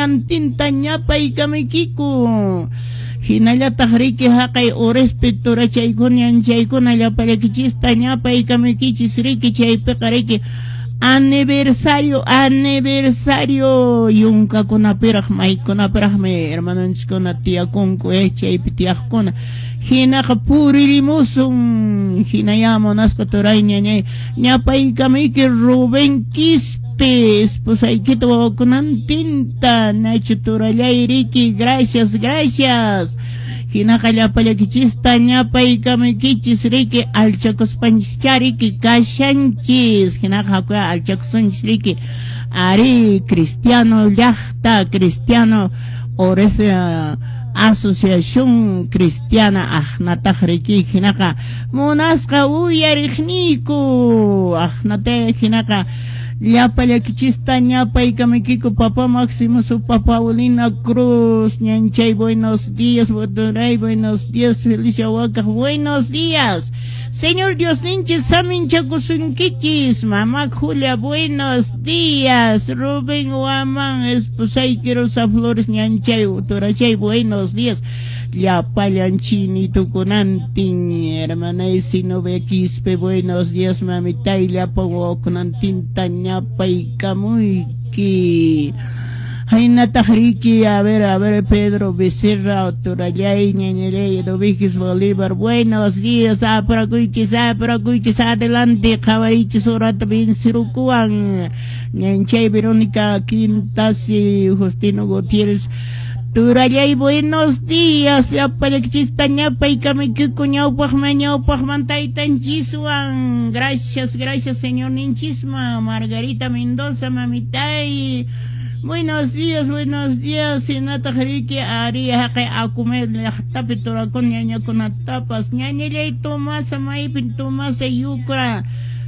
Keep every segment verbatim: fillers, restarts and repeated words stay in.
wawakunantinta ñapaykamuykiku. Hinallataq riki haqay Orespe turachaykuna ñanchaykuna llapallakichista ñapaykamuykichis riki chaypiqa riki aniversario aniversario yunkakunapiraq maykunapiraqmi hermanonchiskuna tiyakunku eh chaypi tiyaqkuna hinaqa puririmusun hinaya munasqa turay ñañay ñapaykamuyki Rubén Quispe esposaykita wawakunantinta Nacho turallay riki gracias gracias hinaqa llapallakichista ñapaykamuykichis riki alchakuspanchis riki kashanchis hinaqa hakuya alchakusunchis riki ari cristiano llaqta cristiano Orefe Asociación Cristiana aqnataq riki hinaqa munasqa uyariqniyku aqnata hinaqa llapallakichista ñapaykamuykiku papá Máximo su papá Paulina Cruz ñanchay buenos días Botoray buenos días Felicia Huacaj buenos días Señor Dios ninchis saminchakusunkichis mamá Julia buenos días Rubén Guamán esposayki Rosa Flores ñanchay turachay buenos días llapallan chinitukunantin hermana Sinove Quispe buenos días mamitay llapan wawakunantinta ñapaykamuyki Haynataq riki a ver a ver Pedro Becerra turallay ñañallay Dovíquez Bolívar buenos días aprakuychis aprakuychis adelante qhawarichis urata vencerukuwan ñanchay Verónica Quintasi Justino Gutiérrez Turallay buenos días llapallakichista ñapaykamuykiku ñawpaqman ñawpaqman taytanchiswan gracias gracias señor ninchisman Margarita Mendoza mamitay buenos días buenos días hinataq riki ari haqay akumel llaqtapi turakun ñañakunatapas ñañallay Tomasa maypin Tomasa yukra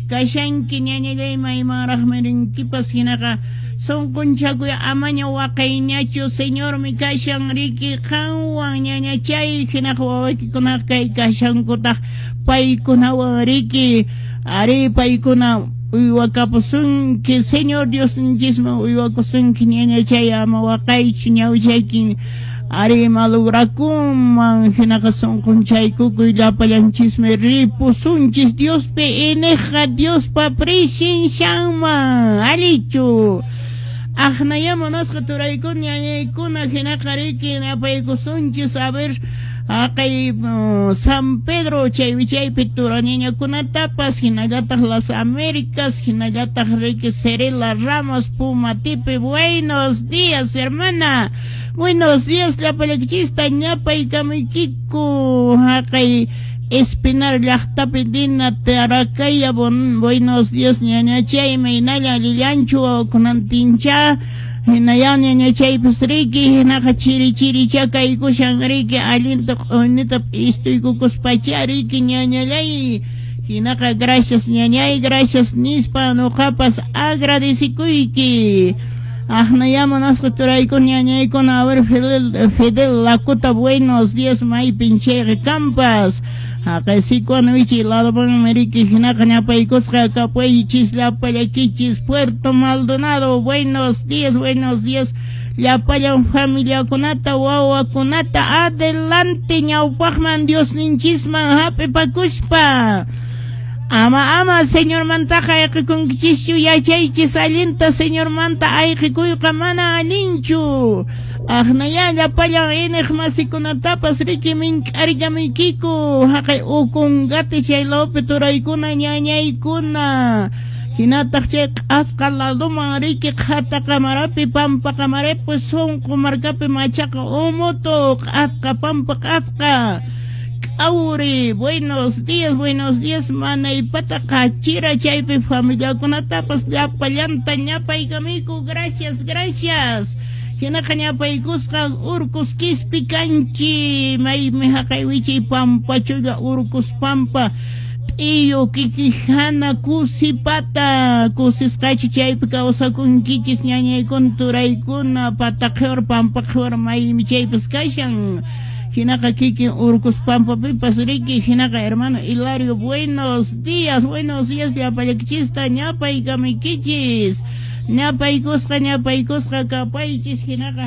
kashanki ñañallay maymanraqmi rinkipas hinaqa sunqunchakuy amaña waqayñachu señormi kashan riki qanwan ñañachay hinaqa wawaykikunaqa kay kashankutaq paykunawan riki ari paykuna uywakapusunki señor Diosninchisman uywakusunki ñañachay ama waqaychu ñawchaykin ari malograkunman hinaqa sunqunchaykukuy llapallanchismi ripusunchis Diospi ineqa Diospa presencianman allichu aqnaya munasqa turaykuna ñañaykuna hinaqa riki napaykusunchis a ver haqay San Pedro chay wichaypi turaniñakunatapas hinallataq Las Américas hinallataq riki Cerela Ramos Pumatipi buenos días hermana buenos días llapallakichista ñapaykamuykiku haqay Espinar llaqtapi Dina Tarakaya buenos días ñañachay maynalla allillanchu wawakunantincha hinaya ñañachaypas riki hinaqa chiri chiricha kaykushan riki allinta q'uñita p'istuykukuspacha riki ñañallay hinaqa gracias ñañay gracias nispa nuqapas agradecikuyki aqnaya munasqa turaykuna ñañaykuna a ver Fidel, Fidel Lakota buenos días maypin chayqa kampas haqay Sicuano wichi ladomanmi riki hinaqa ñapaykusqa kapuychis llapallakichis Puerto Maldonado buenos días buenos días llapallan familiakunata wawakunata adelante ñawpaqman Diosninchisman hap'ipakuspa ama ama señormantaqa ayqikunkichischu yachaychis allinta señormanta ayqikuyqa mana allinchu aqnaya llapallan iniq masikunatapas riki mink'arikamuykiku haqay Ocongate chay lawpi turaykuna ñañaykuna hinataq chay q'asqa ladoman riki qhata qamarapi pampa qamarapi sunqu markapi machaqa umutu q'asqa pampa q'asqa Auri, buenos días, buenos días, manaypata qachira chaypi familiakunatapas llapallanta ñapaykamuyku, gracias, gracias. Hinaqa ñapaykusqa Urcos Quispi kanchi, maymi haqay wichay pampachulla Urcos Pampa, T'iyu kikijana kusipata, kusisqachu chaypi kawsakunkichis ñañaykuna turaykuna pataqhiwar pampaqhiwar maymi chaypas kashan. Hinaqa kikin Urcos Pampapipas riki hinaqa hermano Hilario buenos días buenos días llapallakichista ñapaykamuykichis ñapaykusqa ñapaykusqa kapaychis hinaqa